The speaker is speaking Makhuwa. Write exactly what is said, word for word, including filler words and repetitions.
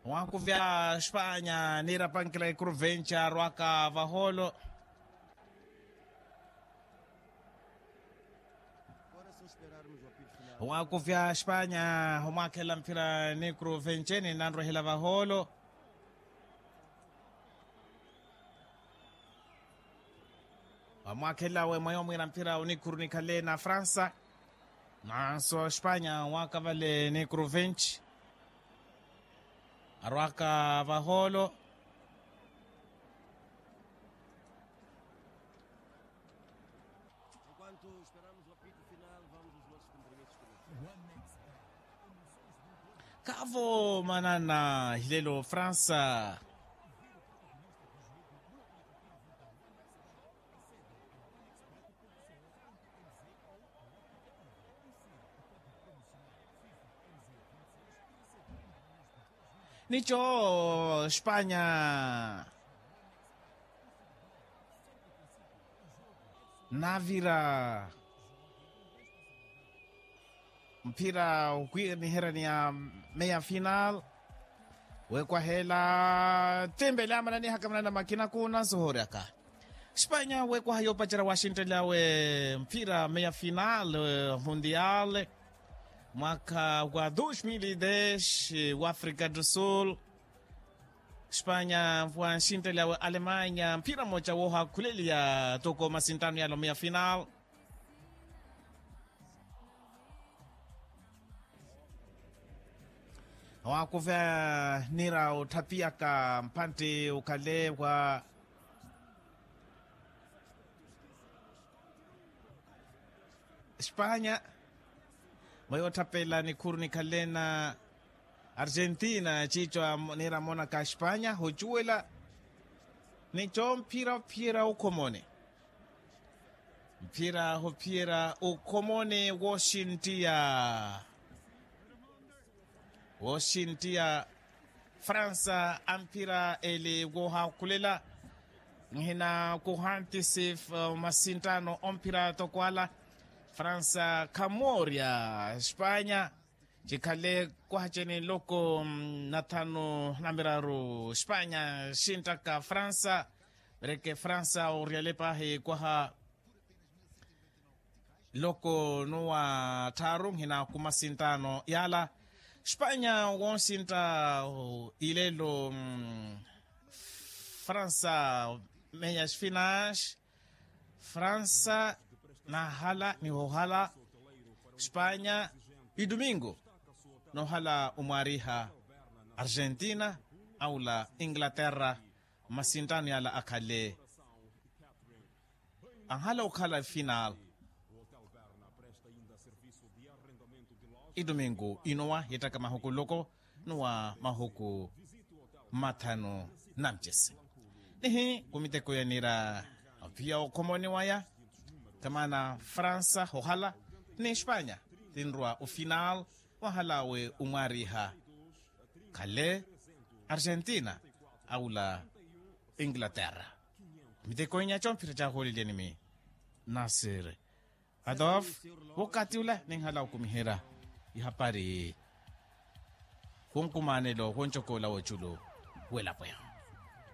Waakuvya spanya niira pankila ikuru venci arwaka vahoolo. Waakuvya spanya omwakhela mphira nikuru venci ni nanrwehela vahoolo. Wamwakhela we mwayo mwira mphira onikhuru nikhale na fransa. Nanso spanya waakavale nikuru venci arwaka vahoolo. Kavo manana hilelo fransa. Nico spanya navira mphira okwiniherani ya meia final. Wekwahela timbele amananihaka manana makina kuna nsohoryaka. Spanya wekwaha yopacerya waxintteli awe mphira meia final mundial mwaka wa dos mil e dez wa africa do sul. Spanya wa nxintteli awe alemanya mphira mmoca woohakhuleliya toko masinttano yalo meia final. Waakuvya nira otthapiyaka mpantte okhale wa spanya. Mweyo otthapela nikhuru nikhale na argentina ciico nira amonaka spanya hocuwela. Nico mphira ophiyerya okhomone mphira ophiyerya okhomone wooxinttiya wooxinttiya fransa amphira eli woohakhulela. Nhina kuhantisi masinttano omphira toko ala fransa khamoorya spanya. Cikhale kwahaceni loko nathanu namiraru spanya xinttaka fransa. Mereke fransa oriyale pahi kwaha loko nuwa tthaaru nhina kumasinttano yala. Spanya wonsintta ilelo fransa meia spinash. Fransa nahala nihohala spanya idumingo nohala omwaariha argentina aula inglaterra. Masinttano yala akhale anhala okhala final. Idumingo inowa yettaka mahuku loko nowa mahuku mathanu. Namcesi nihi kumiteko yanira ophiya okhomoni waya. Kamana fransa hohala ni spanya tinrwa ofinal wahala we omwaariha khale argentina aula inglaterra. Miteko inya comphira cahoolelyanimi nasir adof wokati ula ninhala okumiherya ihapari khunkumanelo khuncokola woculu welapo yahu.